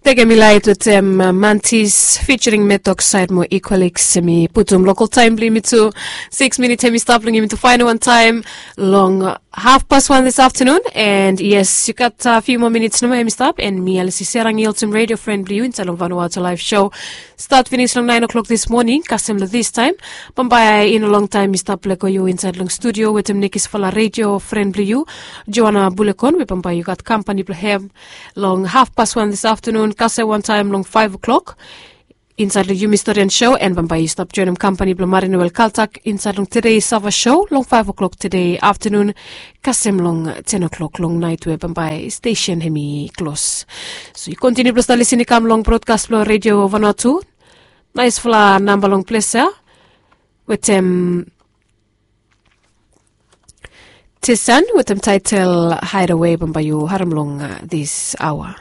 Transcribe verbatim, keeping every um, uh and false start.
Teke mi lait wetem Mantis featuring Metok side mo Equalix, mi putum local time blong yumi tu. Six minutes hemi stap long yumi tu final one time long half past one this afternoon. And yes, you got a few more minutes nomo hemi stap, and mi Alice Serang i olsem radio friend blong you inside long Vanuatu live show. Start finish long nine o'clock this morning kasem long this time. Bambae in a long time mi stap leko you inside long studio wetem nekis fala radio friend blong you, Joanna Bulekon, we bambae you got company blong hem long half past one this afternoon kasem one time long five o'clock. Inside long yumi story and show, and bambae you stop joinim company blong Marinewel Kaltak inside long today Sava show long five o'clock today afternoon kasem long ten o'clock long night we bambae station hemi close. So you continue blong start listening kam long broadcast blong radio Vanuatu. Nice fala number long place ya wetem Tisan wetem title Hideaway, bambae you harem long this hour.